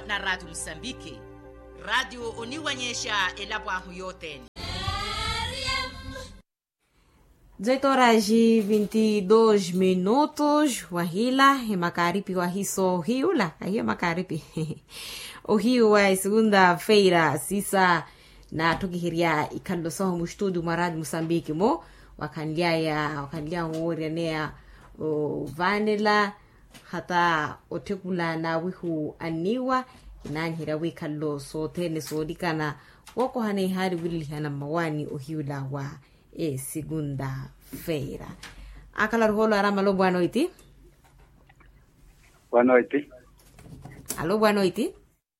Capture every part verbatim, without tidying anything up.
Na ratio musambiki ratio oniwanyexa elapo ahu yothene. Zoitoraxi vinti dos minutos wahila emakaripi wahiso ohiyula ahiyo emakaripi. Ohiyu wa esegunda feira sisa naathokiherya ikhalelo sahu mustudio mwa ratio musambiki mo wakhanlyaya wakhanlyaya owooryaneya. Ovaanela hata otthekula n'awihu anniiwa kinaaniherya wikhalelo sothene soolikana wookohana ihaari wililihana mmawaani ohiyula wa esikunda feira. Akhala ruhoolo arama alo bwanoiti. Bwanoiti. Alo bwanoiti.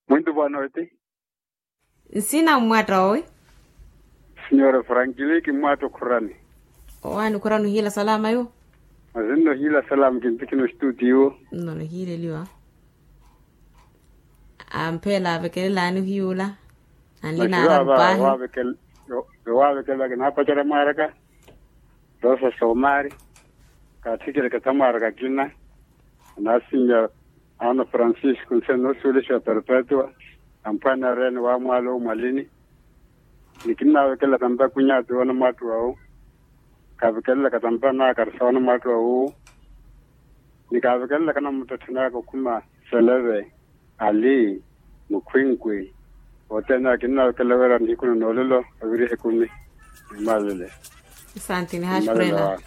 Mwintu bwanoiti. Nsina mmwatta owi? Sinyora frankili kimmwatta okhurani. Owaani okhurani ohiila salama yo? Mazinno ohiila salama kintikhina oxituutiwo. Nnono ohiileliwa. Ampheela avekelelaani ohiyuula anlina aramu paahi. Ewaavekelela kinaapacerya mwaaraka. Rosa somaari kaathikele kathamwaaraka kina. Anaasinnya ana francisco nsena noosuwelexiwa perpetua. Amphwaani areene waamwaala owu mwalini. Ni kinnaavekelela tampa kunyati woona mwaattu wawu. Kaavekelela katampa naakari sa woona mwaattu wawu. Ni kaavekelela kanamuttetthenaka okhuma seleve ali mukhwinkwi. Othene akinnaakela wira nihiku na noolelo oviriha ekumi. Nimalele. Asante nihaxi khurela.